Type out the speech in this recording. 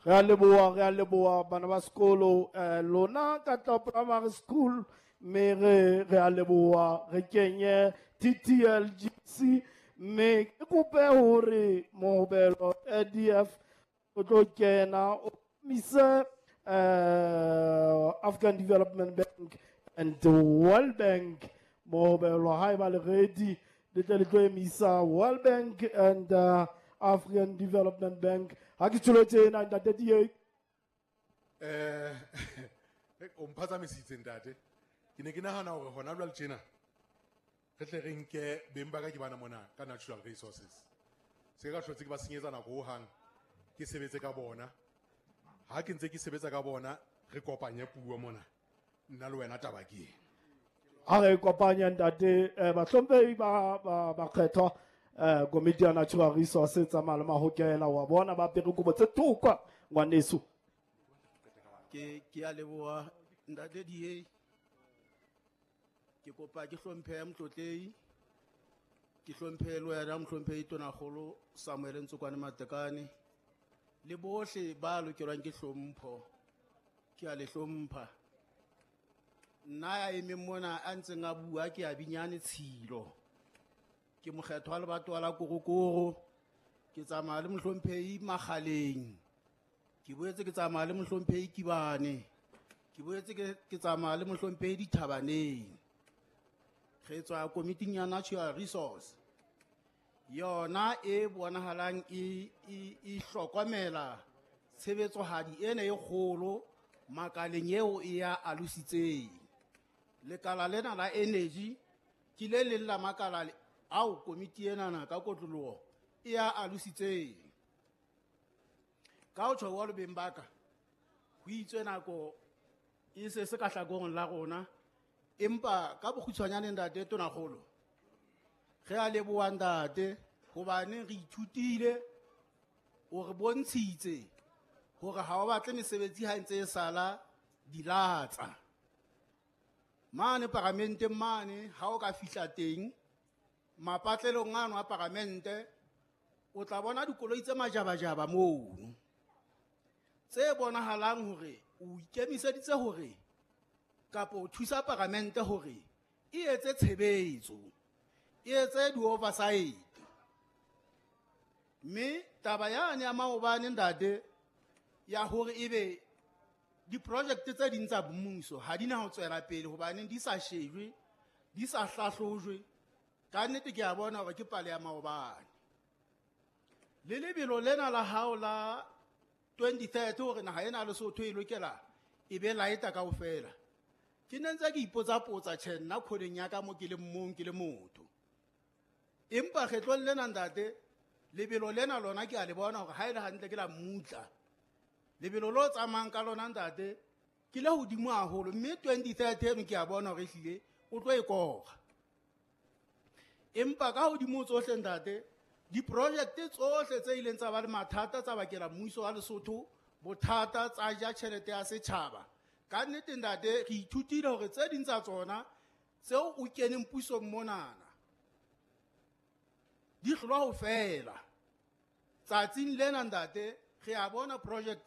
Re a leboha, re a leboha bana ba sekolo lona ka tla primary school mme re a leboha re kenye TTLGC mme ke kope hore mohobelo ADF o tlo kena o mise African Development Bank and the World Bank mohobelo haeba le ready le tle le tlo emisa World Bank and African Development Bank. Ha ke tsholo tjena ntate DA. O mphatsamisitse ntate. Ke ne ke nahana hore hona jwale tjena re tle re nke beng ba ka ke bana mona ka natural resources. Se ka hlotse ke ba senyetsa nako hohang ke sebetse ka bona. Ha ke ntse ke sebetsa ka bona re kopanye puo mona. Nna le wena taba ke eng? Ha re kopanya ntate bahlomphehi ba bakgethwa komiti ya natural resources tsamaya le mahokela wa bona ba apere kobo tse thokwa ngwaneso. Ke a leboha ntate DA. Ke kopa ke hlomphe motlotlehi, ke hlomphe le wena mohlomphehi Tonakgolo Samuel Ntsokwane Matekane le bohle ba lokelwang ke hlompho. Ke a le hlompha. Nna ya emeng mona a ntseng a bua ke a Binyane Tshilo. Ke mokgethwa wa lebatowa la Korokoro. Ke tsamaya le mohlomphehi Makgaleng. Ke boetse ke tsamaya le mohlomphehi Kibane. Ke boetse ke tsamaya le mohlomphehi Dithabaneng. Re tswa komiting ya Natural Resource. Yona e bonahalang e hlokomela tshebetsohadi ena e kgolo makaleng eo e ya alositseng. Lekala lena la energy ke le leng la makala ao komiti enana ka kotloloho e ya alositseng. Ka ho tjho jwalo beng ba ka, ho itswe nako e se se ka hlakoreng la rona, empa ka bokgutshwanyane ntate Tonakgolo, re a leboha ntate hobane re ithutile, o re bontshitse hore ha o batle mesebetsi ha ntse e sala dilatsa. Mane paramenteng mane ha o ka fihla teng mapatlelong ano a paramente o tla bona dikoloi tse majabajaba mono tse bonahalang hore o ikemiseditse hore kapa o thusa paramente hore e etse tshebetso, e etse di-oversight. Mme taba yane ya maobane ntate ya hore ebe di-project tse ding tsa mmuso ha di na ho tswela pele hobaneng di sa shejwe, di sa hlahlojwe, ka nnete ke a bona hore ke pale ya maobane. Le lebelo lena la hao la 2030 hore naha ena ya Lesotho e lokela e be laeta kaofela. Ke ne ntse ke ipotsa-potsa tjhe nna kholeng ya ka mo ke le mong ke le motho. Empa kgetlong lena ntate, lebelo lena lona ke a le bona hore ha e le hantle ke la mmutla. Lebelo lo tsamayang ka lona ntate ke le hodimo haholo, mme 2030 eno ke a bona hore ehlile o tlo e kora. Empa ka hodimo tsohle ntate, di-project tsohle tse ileng tsa ba le mathata tsa bakela mmuso wa Lesotho bothata tsa ja tjhelete ya setjhaba. Ka nnete ntate re ithutile hore tse ding tsa tsona tseo o keneng pusong monana di hlolwa ho fela. Tsatsing lena ntate re a bona project